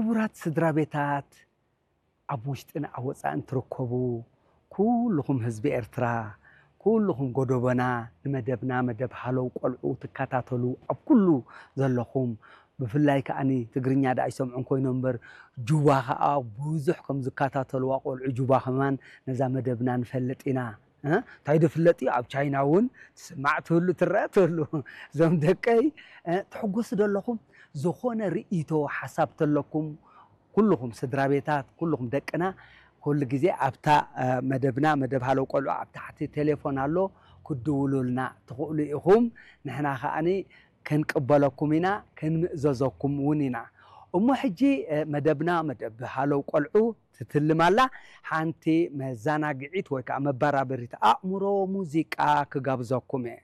ክቡራት ስድራ ቤታት፣ ኣብ ውሽጥን ኣብ ወጻእን ትርከቡ ኩልኹም ህዝቢ ኤርትራ፣ ኩልኹም ጎደቦና ንመደብና መደብ ሃለው ቆልዑ ትከታተሉ ኣብ ኩሉ ዘለኹም፣ ብፍላይ ከኣኒ ትግርኛ ደኣ ይሰምዑን ኮይኖም እምበር ጁባ ከኣ ብዙሕ ከም ዝከታተልዋ ቆልዑ ጁባ ከማን ነዛ መደብና ንፈልጥ ኢና። እ? እንታይ ዶ ፍለጥ እዩ? ኣብ ቻይና እውን ትስማዕ ትህሉ፣ ትረአ ትህሉ። እዞም ደቀይ፣ እ፣ ትሕጎሱ ዶ ኣለኹም? ዝኾነ ርእይቶ፣ ሓሳብ ተለኩም፣ ኩልኹም ስድራ ቤታት፣ ኩልኹም ደቅና፣ ኩሉ ግዜ ኣብታ፣ እ፣ መደብና፣ መደብ ሃለው ቆልዑ ኣብ ታሕቲ ቴሌፎን ኣሎ፣ ክድውሉልና ትኽእሉ ኢኹም። ንሕና ከኣኒ ክንቅበለኩም ኢና፣ ክንምእዘዘኩም እውን ኢና። እሞ ሕጂ፣ እ፣ መደብና፣ መደብ ሃለው ቆልዑ ትትልም ኣላ። ሓንቲ መዘናግዒት ወይ ከዓ መበራበሪት ኣእምሮ ሙዚቃ ክጋብዘኩም እየ።